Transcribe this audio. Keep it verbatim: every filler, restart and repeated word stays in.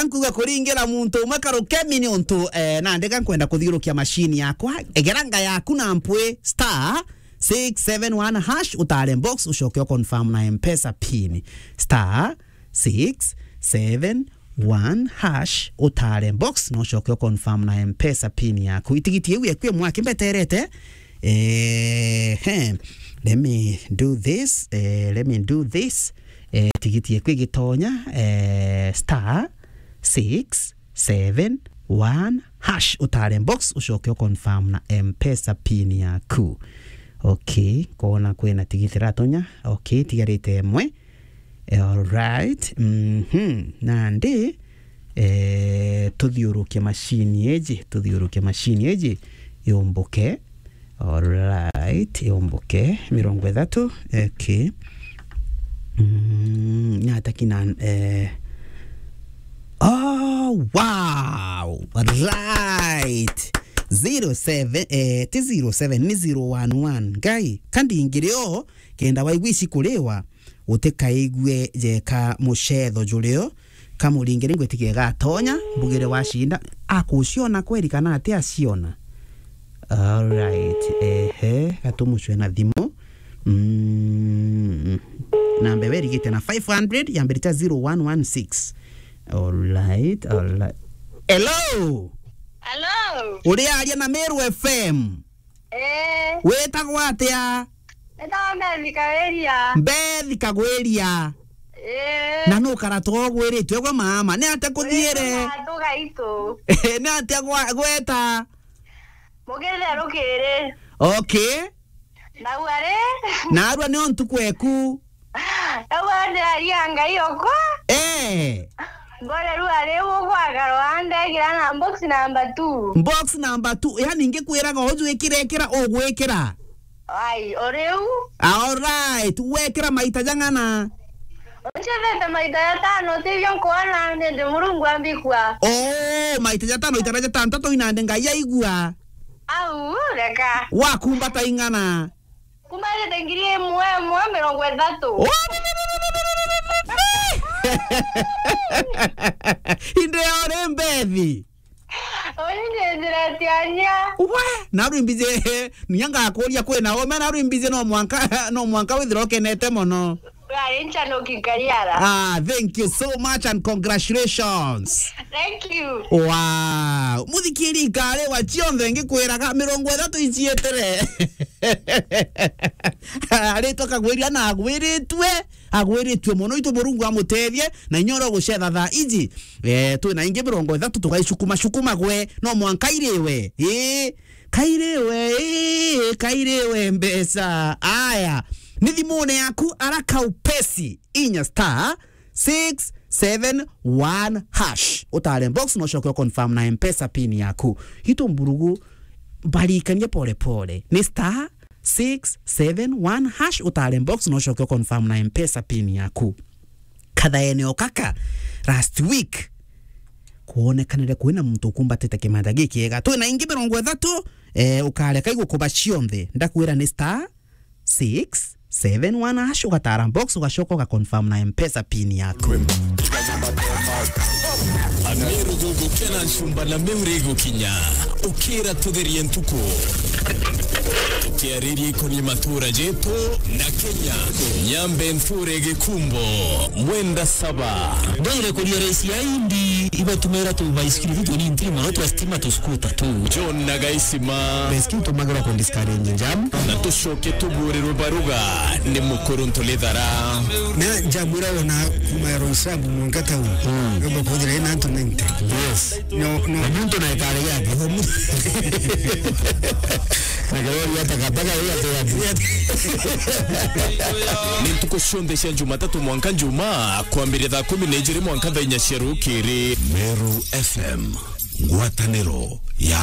Nkuga kuringira muntu umwe karukemi ni untu, eh, nandi ga nkwenda kuthiurukia machine yakwa. Egera nga yaku na mpwi star six seven one hash, utare box, ucoke u confirm na M-Pesa pin. Star six seven one hash, utare box, na ucoke u confirm na M-Pesa pin yaku. Itigiti iu ekwi mwaki mbeterete. Eh, he. Let me do this. Eh, let me do this. Eh, tigiti ekwi gitonya. Eh, star six seven one hash, utare box, ucoke u confirm na M-Pesa pin yaku. Okay, kona kwina tigiti ratonya. Okay, tigarite emwe. Alright. Mhm. Nandi, eh, tuthiurukie machine iji, tuthiurukie machine iji, yumbuke. Alright, yumbuke. Mirongo ithatu. Okay. Mm, nyata kina, eh, oh, wow. Right. Zero seven, eh, ti zero seven, ni zero one one. Ngai, kandingirio, kenda waigua ici kuriwa. Utikaigue jeka mucetho jurio, kamuringire ngwitikie gatonya, mbugire wacinda, akuciona kweri kana ati aciona? Alright, ehe, gatumucwe na thimu. Mm. Namba iwe irigite na five hundred, yambirite zero one one six. Alright, alright. Hello? Hello? Uri aria na Meru F M? Eh. Witagwa atia? Nitagwa Mbethi Kagwiria. Mbethi Kagwiria. Eh. Na nukara to ugwiritue gwe mama. Ni atia kuthiire? Ugwiritue na antu gaitu. Ni atia gwa-, gweta? Mugithe rukiri. Okay. Nau ari? Narua ni o ntuku eku. Nau ari ndiraria Ngai okwa. Eh. Ngore riu ari gugwakara, ndegira na box number two. Box number two, yani ngikwiraga uju ikira, ikira, ugwikira. Ai, o riu? Alright, wekira maita jang'ana? Ncethete maita jatano, tibio nkwona, nindi Murungu ambikua. Oh, maita jatano, itara jatantatu inandi Ngai aigua. Au, reka. Wakumbata ing'ana? Kumbarite ngiri imwe, imwe mirongo ithatu. Inde ore Mbethi. Uri ni njira tiania. We, narwi mbiji, nya ngakuria kwina ome, narwi mbiji no mwanka, no mwanka withira ukenete mono. Ari nchanuki nkariara. Ah, thank you so much and congratulations. Thank you. Wow. Muthikiri nkari wa cionthe ngikwiraga mirongo ithatu icietire. Aritwa Kagwiria na agwiritue, agwiritue mono, itu Murungu amutethie, na inya uria ugucetha thaa iji. Eh, twina ingi mirongo ithatu tugaicukuma cukuma gwe, no mwanka iriwe. Ii, kairiwe, ii, kairiwe mbeca. Aya, ni thimune yaku, ara kaupesi, inya star six seven one hash. Utare box, no ucoke u confirm na M-Pesa pin yaku. Itu mburugu, barikanie pole pole. Ni star six seven one hash, utare box, no ucoke u confirm na M-Pesa pin yaku. Kathaene o kaka, last week, kwonekanire kwina muntu ukumbatite kimanja gikiega. Twina ingi mirongo ithatu, eh, ukareka igukuba cionthe. Ndakwira ni star six seven one hash, ugatara box, ugacoka uga confirm na M-Pesa pin yaku. Amiru gugu kena nchumba na miuri gukinya. Ukira tutherie ntuku. Tukiariria ikonie matura jetu na Kenya. Nyambe nture Gikumbo, Mwenda Saba. Ndwire kuria raisi ya Indi, ibatumira tu baisikiri tu tuni ntiri mono twa stima tu scooter tu. John na Gaisima. Baisikiri tumagirwa ku discourage jam. Na tucoke tuburirwe baruga ni mukuru Ntulithara. Na jam ira wona kuma ya Roysambu mwanka town. Mm. Yomba kuthira ina antu ninety. Yes. No, no. Na muntu na ikare yake. Na karori ya takataka ya. Ni ntuku cionthe cia Jumatatu mwanka Njumaa, kwambiria thaa kumi na ijiri mwanka thaa inya cia rukiri. Meru F M, ngwataniro ya